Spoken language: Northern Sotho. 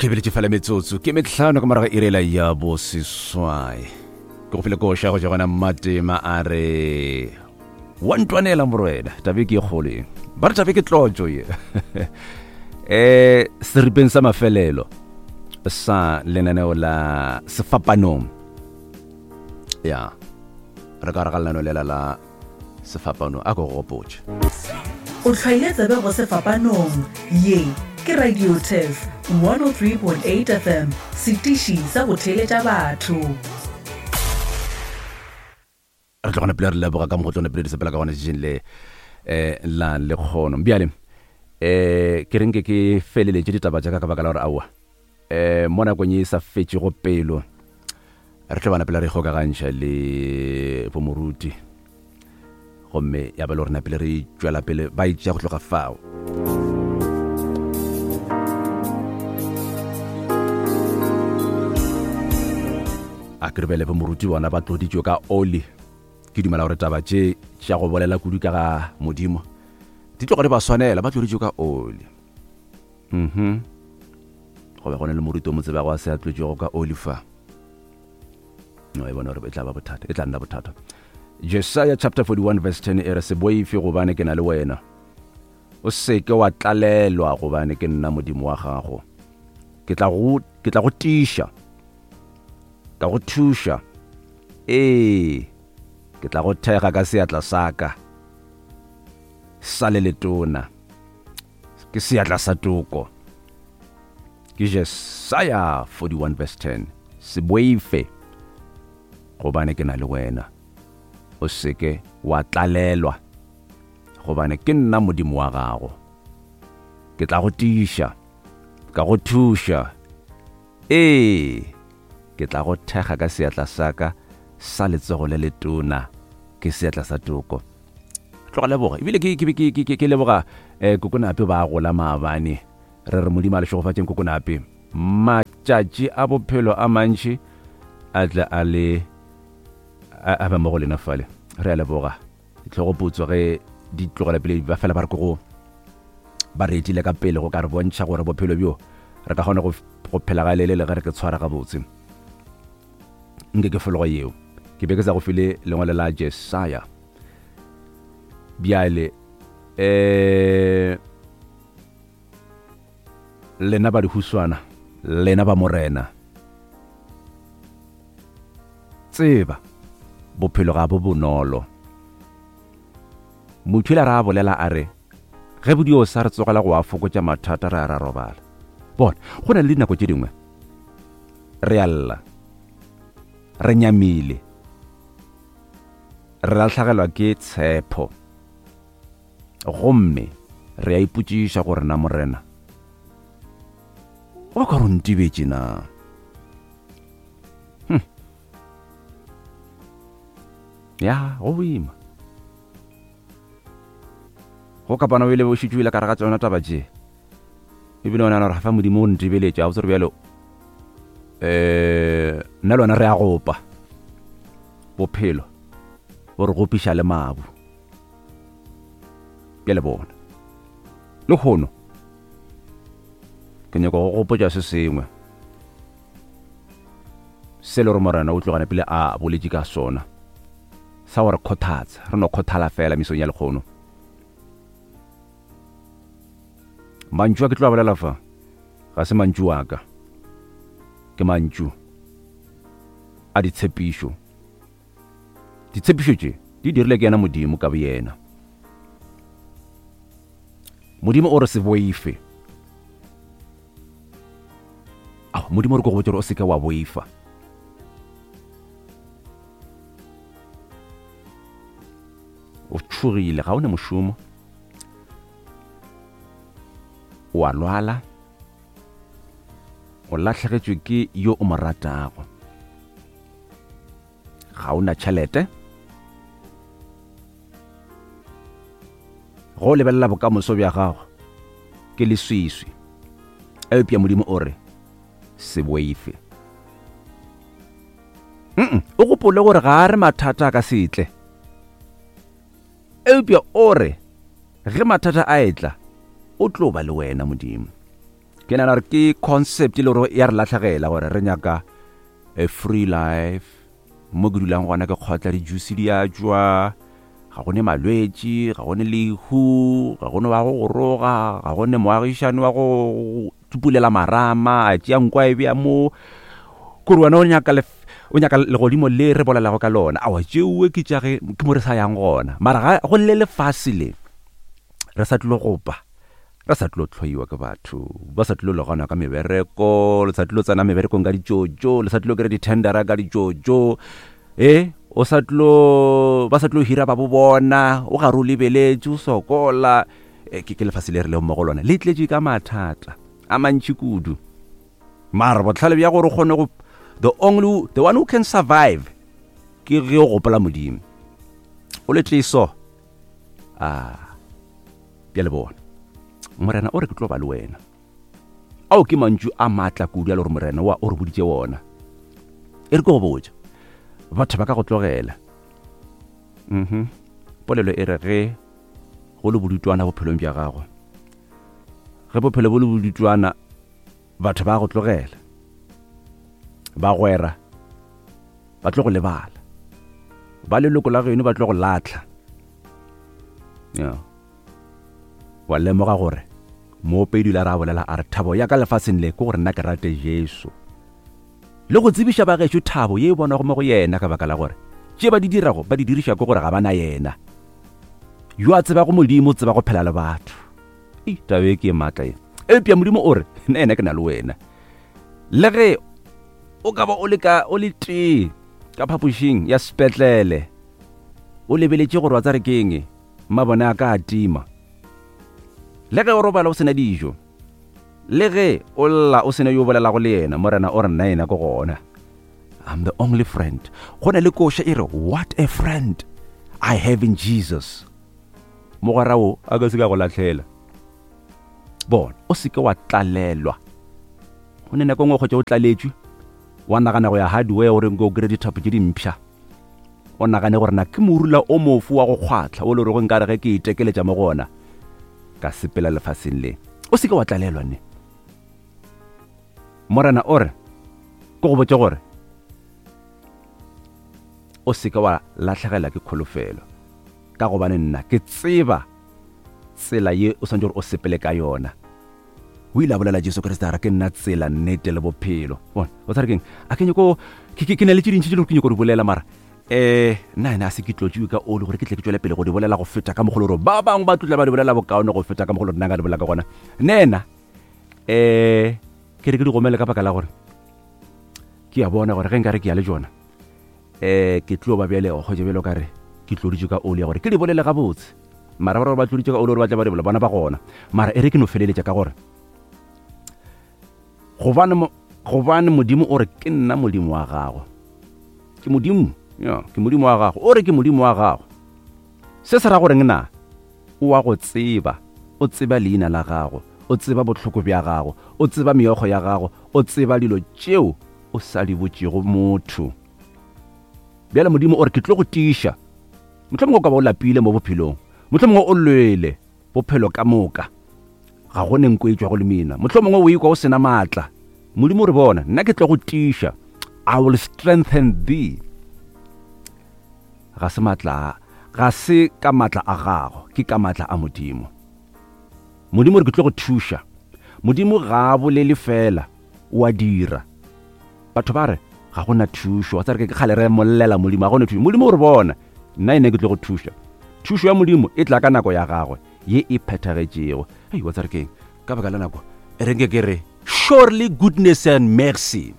Okay, beletše fela metsotso ke metlhano ka morago irela ya boseswai. Ke go file koša go tšwa gona Mmatema a re wa ntwanela morwena tabe ke e kgolo ye. Ba re tabe ke tlotšo ye. Eh seripeng sa mafelelo sa lenaneo la sefapanong. Ya. Re ka re ga lenaneo lela la Sefapano a ko gopotše. O hlwaile tsebe go Sefapanong. Ye ke Radio Turf 103.8 FM, setiši sa go theeletša batho. Re tlo gona pele re leboga ka mokgwa tlo pele di sepela ka gona tšatšing le eh la lekgono. Bjale eh ke reng ke ke feleletše ditaba tša ka ka baka la gore aowa eh mo nakong ye e sa fetšego pelo re tlo bana pele re ikgokagantšha le bomoruti gomme ya ba le gore napele re tšwela pele ba itšea go tloga fao. A ke re bjale bomoruti bona ba tloditšwe ka oli. Ke dumela gore taba tše tša go bolela kudu ka ga Modimo di tloga di ba swanela, ba tloditšwe ka oli. Mhm. Go be go na le moruti o mo tsebago a se a tlotšwego ka oli fa. No e bona gore e tla ba bothata, e tla nna bothata. Jesaya chapter 41 verse 10 e re se boife gobane ke na le wena. O seke wa tlalelwa gobane ke nna Modimo wa gago. Ke tla go ke tla go tiiša. Ka go thuša. Ee, ke tla go thega ka seatla sa ka sa le letona. Ke seatla sa toko. Ke Jesaya 41 verse 10. Se boife, gobane ke na le wena. O seke wa tlalelwa, gobane ke nna Modimo wa gago. Ke tla go tiiša, ka go thuša. Ee, ke tla go thekga ka seatla sa ka sa letsogo le letona, ke seatla sa toko. Tloga leboga, ebile ke, ke, ke, ke, ke, ke leboga eh, Kokonape ba gola maabane. Re re Modimo a le šegofatšeng Kokonape. Matšatši a bophelo a mantši a tle a le a, a be mo go lena fale. Re a leboga. Ditlhogoputswa ge di tlogela pele ba fela ba re ke go ba re etile ka pele go ka re bontšha gore bophelo bjo re ka kgona go, go phela ga lele le ge re ke tshwara gabotse. Nke ke fologo yeo. Ke be ke sa go file lengwalo la Jesaya. Bjale eh lena ba dihuswana, lena ba Morena, tseba bophelo ga bo bonolo. Motho ile ra bolela a re ge bodio sa re tsogela go a fokotša mathata re a ra robala. Bona, go na le dinako tše dingwe re a lla, re nyamile, re lahlagelwa ke tshepo gomme re a ipotšiša gore na Morena o ka re o ntibetše na. Hm. Ya, go boima. Go kapana o ile o šetše o ile ka re ga tsona taba tše. Ebile o nagana gore fa Modimo o ntebeletše, a botse gore bjalo eh nna le wena re a gopa. Bophelo bo re gopiša le mabu. Bjale bona. Lehono ke nyaka go gopotša se sengwe se le gore Morena o tlogane pele a boletše ka sona sa gore kgothatsa, re no kgothala fela mesong ya lekgono. Mantšu a ke tlo a bolela fa ga se mantšu a ka, ke mantšu a ditshepišo. Ditshepišo tše di dirile ke yena Modimo ka boyena. Modimo o re se boife. Ao, Modimo o re ko go botša gore o seke wa boifa. O tšhogile, ga o ne mošomo. O a lwala. O lahlegetšwe ke yo o mo ratago. Ga o na tšhelete. Go o lebelela bokamoso bja gago ke leswiswi. Eupša Modimo o re, se boife. Mm o gopole gore ga a re mathata a ka se tle. Eupša o re ge mathata a etla, o tlo ba le wena Modimo. Ke nagana gore ke concept e le gore ya re latlhegela gore re nyaka a free life. Mo ke dulang gona ke kgotla di-juice di a tšwa, ga go ne malwetši, ga go ne lehu, ga go ne wa go go roga, ga go ne moagišani wa go tsupulela marama, a tšea nko a e bea mo. Kore wena o nyaka o nyaka legodimo le re bolelago ka lona. Aowa, tšeoe ke tša ge ke mo re sa yang gona. Mara ga go le lefase le re sa tlilo gopa. Re sa tlilo hloiwa ke batho, ba sa tlilo le gana ka mebereko, le sa tlilo tsena meberekong ka ditšotšo, le sa tlilo kry di-tendera ka ditšotšo, e o sa tlilo, ba sa tlilo hira ba bo bona, o gare o lebeletše, o sokola. E, ke, ke lefase le re leng mo go lona, le tletše ka mathata a mantši kudu. Mara bohlale bja gore o kgone go, the only, the one who can survive, ke ge o gopola Modimo. O le tleso. Ah. Bjale bona, Morena o re ke tlo ba le wena. Ao ke mantšu a maatla kudu a le gore Morena wa o re boditše wona. E re ke go botša, batho ba ka go tlogela. Mhm. Polelo e re ge go le bodutwana bophelong bja gago. Ge bophelo bo le bodutwana, batho ba go tlogela. Bagwera ba tlo go lebala. Ba leloko la geno ba tlo go latlha. Yeah. Wa lemoga gore moopedi la ra bolela a re thabo ya ka lefaseng le ke gore nna ke rate Jesu. Le go tsebiša ba gešo thabo ye e bonwago mo go yena ka baka la gore tše ba di dirago ba di diriša ke gore ga ba na yena. Yo a tsebago Modimo o tseba go phela le batho. Ei, taba e ke e maatla ye. Eupša Modimo o re, nna yena ke na le wena. Le ge o ka ba o le ka o le tee ka phapošing ya sepetlele o lebeletše gore wa tsare keng mabone a ka a tima le ge o robala o sena dijo le ge o lla o sena yo bolelago le yena morena o re nna yena ke gona I'm the only friend go na le koša e re what a friend I have in Jesus mogwera wo a ka se ka go lahlela bona o seke wa tlalelwa go ne nako e nngwe kgotsa o tlaletšwe wa nagana go ya hardware gore nko o kry dithapo tše dimpšha o nagane gore na ke morula o mofu wa go kgwatlha o le rego nkare ge ke itekeletša mo go ona ka sepela lefaseng le o seke wa tlalelwa ne morena o re ke go botse gore o seke wa lahlegela ke kholofelo ka gobane nna ke tseba tsela ye o swanetše gore o sepele ka yona O ile a bolela Jesu Kriste a re ke nna tsela, nnete le bophelo. Bona, o tshware keng? A ke nyako ke ke na le tše dintši tše le gore ke nyako di bolela mara eh nna ene a se ke tlotšiwe ka oli gore ke tle ke tšwele pele go di bolela go feta ka mogolo gore ba bangwe ba tlotla ba di bolela bokaone go feta ka mogolo nna nka di bolela ka gona. Nna ena eh ke re ke di gomele ka baka la gore ke a bona gore ge nka re ke ya le jona eh ke tlo ba bjale go kgotsa bjalo ka re ke tloditšwe ka oli ya gore ke di bolele gabotse. Mara ba re ba tloditše ka oli gore ba tla ba di bolela, bona ba gona. Mara e re ke no feleletša ka gore gobane gobane Modimo o re ke nna Modimo wa gago. Ke Modimo, ya, ke Modimo wa gago. O re ke Modimo wa gago. Se se ra goreng na? O wa go tseba, o tseba leina la gago, o tseba bohloko bja gago, o tseba meokgo ya gago, o tseba dilo tšeo o sa di botšego motho. Bjale Modimo o re ke tlo go tiiša. Mohlomongwe o ka ba o lapile mo bophelong. Mohlomongwe o lwele bophelo ka moka. Ga go ne nko e tšwago le mina. Mohlomongwe o ikwa o sena maatla. Modimo o re bona, nna ke tlo go tiiša. I will strengthen thee. Ga se maatla, ga se ka maatla a gago, ke ka maatla a Modimo. Modimo o re ke tlo go thuša. Modimo ga a bolele fela, o a dira. Batho ba re, Ga go na thušo. Wa tseba re ke kgale re mollela Modimo, ga go na thušo. Modimo o re bona, nna ene ke tlo go thuša. Thušo ya Modimo e tla ka nako ya gagwe ye e phethagetšego. Hei, wa tseba re keng? Ka baka la nako, e re nke ke re, surely goodness and mercy.